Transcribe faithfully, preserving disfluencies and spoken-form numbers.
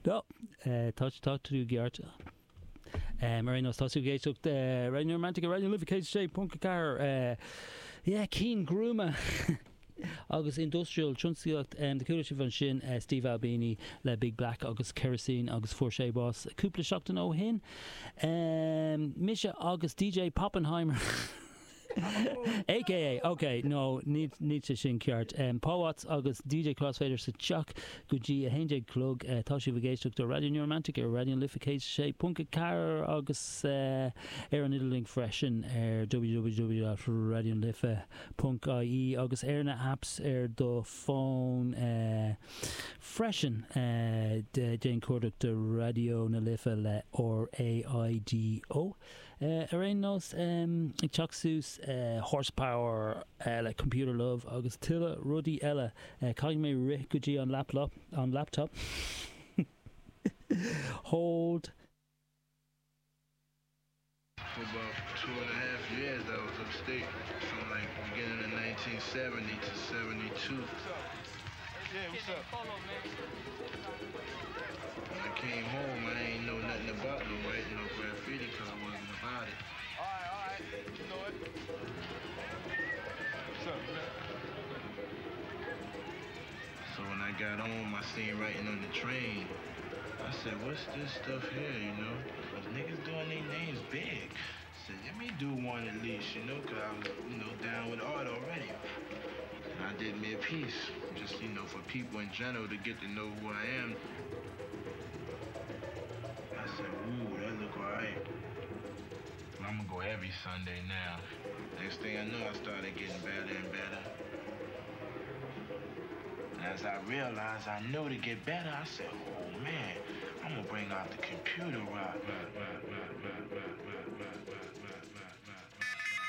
No, eh, tá tá tú ceart. Um, ar aon nós tá tú ag éisteacht uh, Radio Romantic Raidió Life céad sé ponc a ceathair uh, yeah, cinn gruama agus industrial tionsclaíocht um, de chuala sibh ansin uh, Steve Albini le Big Black agus Kerosene agus fuair sé bás cúpla seachtain ó shin. Um, mise agus DJ Poppenheimer. AKA ok no ní ní sé sin ceart um, Paul Watts agus DJ Crossfader sa teach go dtí a haon déag a chlog uh, tá sibh ag éisteacht do Radio New Romantic ar Raidió Life céad sé ponc a ceathair agus uh, ar an idirlíon freisin ar www.radiolife.ie agus ar na apps ar do fón uh, freisin uh, de déan cuardach do Raidió na Life le RAIDO. Uh, ar aon nós um, ag teacht suas uh, horsepower uh, le computer love agus tuilleadh rudaí eile uh, caithfidh mé rith go dtí an laptop an laptop hold For about two and a half years, I was upstate from like beginning of nineteen seventy to seventy-two. Yeah, what's up? When I came home, I ain't know nothing about no writing no graffiti because I wasn't about it. All right, all right. You know it. What's up, man? So when I got home, I seen writing on the train. I said, what's this stuff here, you know? Cause niggas doing their names big. I said, let me do one at least, you know, cause I was, you know, down with art already. And I did me a piece, just, you know, for people in general to get to know who I am. I said, ooh, that look all right. I'm gonna go every Sunday now. Next thing I know, I started getting better and better. As I realized I know to get better, I said, oh man, I'm gonna bring out the computer rock.